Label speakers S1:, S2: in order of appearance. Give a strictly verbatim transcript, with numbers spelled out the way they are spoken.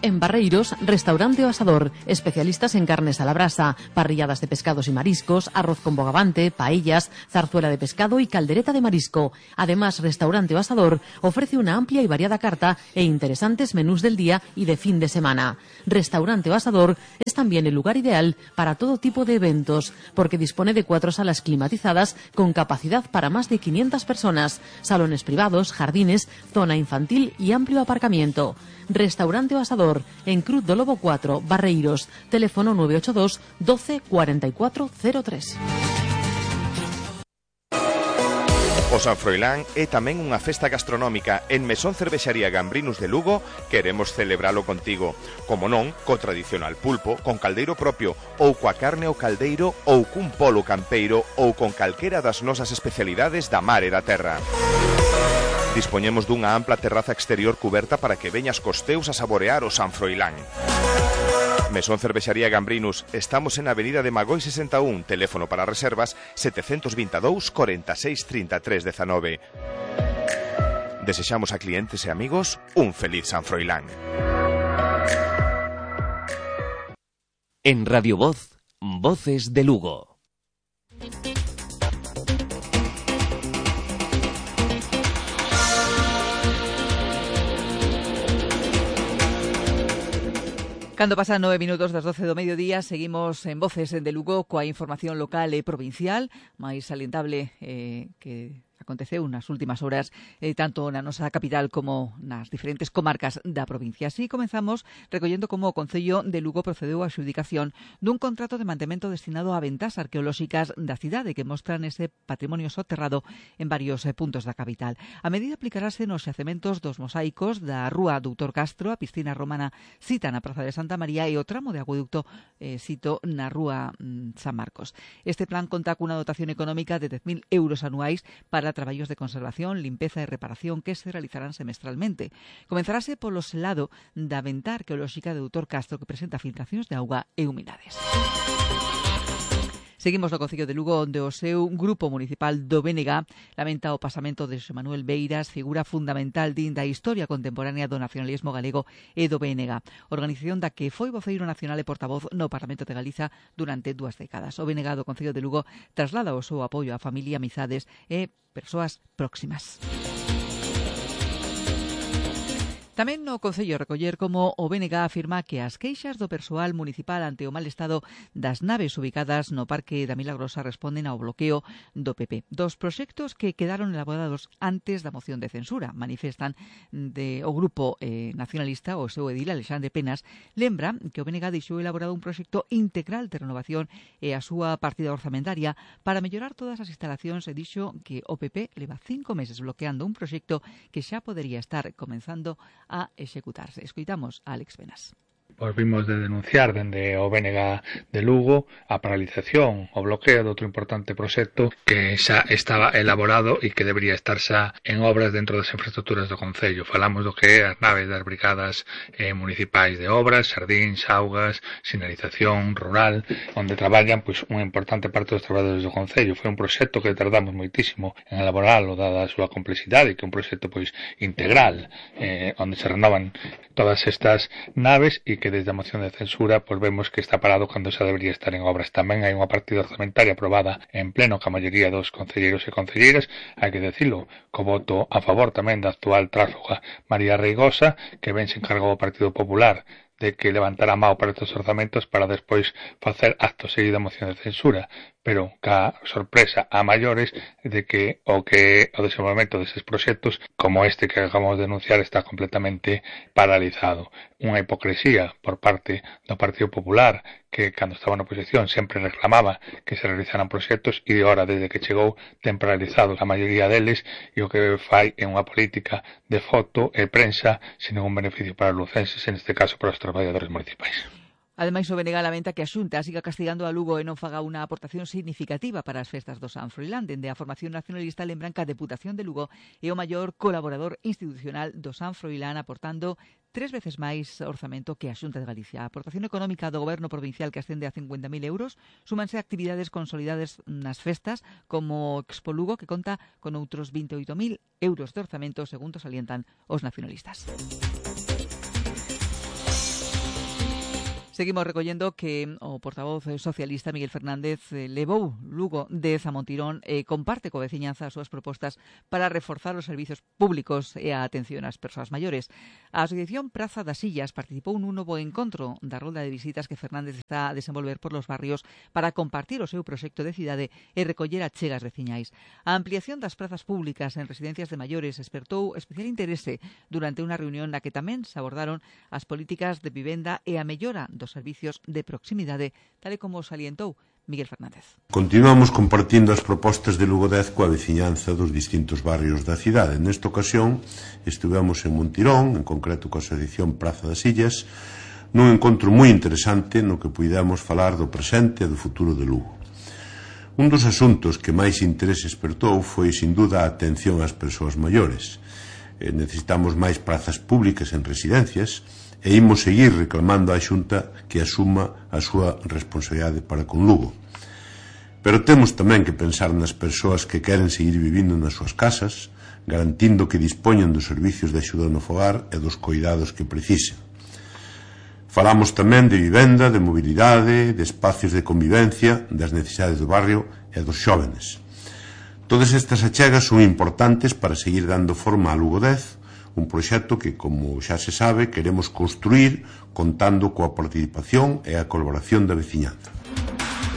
S1: En Barreiros, Restaurante O Asador, especialistas en carnes a la brasa, parrilladas de pescados y mariscos, arroz con bogavante, paellas, zarzuela de pescado y caldereta de marisco. Además, Restaurante O Asador ofrece una amplia y variada carta e interesantes menús del día y de fin de semana. Restaurante O Asador es también el lugar ideal para todo tipo de eventos, porque dispone de cuatro salas climatizadas con capacidad para más de quinientas personas, salones privados, jardines, zona infantil y amplio aparcamiento. Restaurante O Asador, en Cruz do Lobo cuatro, Barreiros. Teléfono nueve ocho dos, doce, cuarenta y cuatro cero tres.
S2: O San Froilán é tamén unha festa gastronómica. En Mesón Cervexaría Gambrinus de Lugo queremos celebralo contigo. Como non, co tradicional pulpo, con caldeiro propio, ou coa carne ao caldeiro, ou cun polo campeiro, ou con calquera das nosas especialidades da mar e da terra. Dispoñemos dunha ampla terraza exterior cuberta para que veñas cos teus a saborear o San Froilán. Mesón Cervexaría Gambrinus, estamos en Avenida de Magoi sesenta e un, teléfono para reservas setecientos veintidós, cuarenta y seis, treinta y tres, diecinueve. Desexamos a clientes e amigos un feliz San Froilán.
S3: En Radio Voz, Voces de Lugo.
S4: Cando pasan nove minutos das doce do mediodía, seguimos en Voces de Lugo coa información local e provincial, máis salientable eh, que aconteceu nas últimas horas, eh, tanto na nosa capital como nas diferentes comarcas da provincia. Así comenzamos recollendo como o Concello de Lugo procedeu á adxudicación dun contrato de mantemento destinado a ventas arqueolóxicas da cidade que mostran ese patrimonio soterrado en varios eh, puntos da capital. A medida aplicarase nos xacementos dos mosaicos da Rúa Doutor Castro, a piscina romana cita na Praza de Santa María e o tramo de acueducto eh, cito na Rúa mm, San Marcos. Este plan conta cunha dotación económica de dez mil euros anuais para traballos de conservación, limpeza e reparación que se realizarán semestralmente. Comenzarase polo selado da venta arqueolóxica de Doutor Castro que presenta filtracións de auga e humidades. Seguimos no Concello de Lugo, onde o seu grupo municipal do B N G lamenta o pasamento de Xosé Manuel Beiras, figura fundamental din da historia contemporánea do nacionalismo galego e do B N G, organización da que foi voceiro nacional e portavoz no Parlamento de Galiza durante dúas décadas. O B N G do Concello de Lugo traslada o seu apoio á familia, amizades e persoas próximas. Tamén no Concello recoller como o B N G afirma que as queixas do persoal municipal ante o mal estado das naves ubicadas no Parque da Milagrosa responden ao bloqueo do P P. Dos proxectos que quedaron elaborados antes da moción de censura, manifestan de o grupo eh, nacionalista, o seu edil Alexandre Penas, lembra que o B N G deixou elaborado un proxecto integral de renovación e a súa partida orzamentaria para mellorar todas as instalacións e dixo que o P P leva cinco meses bloqueando un proxecto que xa podería estar comenzando a executarse. Escoitamos a Alex Penas.
S5: Pois vimos de denunciar dende o B N G de Lugo a paralización, o bloqueo de outro importante proxecto que xa estaba elaborado e que debería estar xa en obras dentro das infraestructuras do Concello. Falamos do que é as naves das brigadas eh, municipais de obras, xardíns, augas, sinalización rural, onde traballan pois unha importante parte dos traballadores do Concello. Foi un proxecto que tardamos moitísimo en elaborarlo, dada a súa complexidade, que é un proxecto pois integral, eh, onde se renovan todas estas naves e que desde a moción de censura pois vemos que está parado cando xa debería estar en obras. Tamén hai unha partida orzamentaria aprobada en pleno ca maioría dos concelleiros e concelleiras, hai que decirlo, co voto a favor tamén da actual tránsfuga María Reigosa, que ben se encargou o Partido Popular de que levantara a mao para estes orzamentos para despois facer acto seguido a moción de censura, pero ca sorpresa a maiores de que o que o desenvolvemento deses proxectos, como este que acabamos de denunciar, está completamente paralizado. Unha hipocresía por parte do Partido Popular, que cando estaba na oposición sempre reclamaba que se realizaran proxectos e de hora, desde que chegou, ten paralizados a maioría deles e o que fai é unha política de foto e prensa sin ningún beneficio para os lucenses, en este caso para os traballadores municipais.
S4: Ademais, o B N G lamenta que a Xunta siga castigando a Lugo e non faga unha aportación significativa para as festas do San Froilán. Dende a formación nacionalista lembran que a Deputación de Lugo é o maior colaborador institucional do San Froilán, aportando tres veces máis orzamento que a Xunta de Galicia. A aportación económica do Goberno provincial, que ascende a cincuenta mil euros, súmanse actividades consolidadas nas festas, como Expo Lugo, que conta con outros vinte e oito mil euros de orzamento, segundo salientan os nacionalistas. Seguimos recollendo que o portavoz socialista Miguel Fernández levou Lugo dez a Montirón e comparte coa veciñanza as súas propostas para reforzar os servizos públicos e a atención ás persoas maiores. A Asociación Praza das Illas participou nun novo encontro da rolda de visitas que Fernández está a desenvolver por los barrios para compartir o seu proxecto de cidade e recoller achegas veciñais. A ampliación das prazas públicas en residencias de maiores espertou especial interese durante unha reunión na que tamén se abordaron as políticas de vivenda e a mellora dos servicios de proximidade, tal e como salientou Miguel Fernández.
S6: Continuamos compartindo as propostas de Lugo dez coa veciñanza dos distintos barrios da cidade. Nesta ocasión estivemos en Montirón, en concreto coa Asociación Praza das Illas, nun encontro moi interesante no que puidemos falar do presente e do futuro de Lugo. Un dos asuntos que máis interese espertou foi, sin duda, a atención ás persoas maiores. Eh, necesitamos máis prazas públicas en residencias e imos seguir reclamando á Xunta que asuma a súa responsabilidade para con Lugo. Pero temos tamén que pensar nas persoas que queren seguir vivindo nas súas casas, garantindo que dispoñan dos servicios de axuda no fogar e dos coidados que precisen. Falamos tamén de vivenda, de mobilidade, de espacios de convivencia, das necesidades do barrio e dos xóvenes. Todas estas achegas son importantes para seguir dando forma a Lugo dez, un proxecto que, como xa se sabe, queremos construir contando coa participación e a colaboración da veciñanza.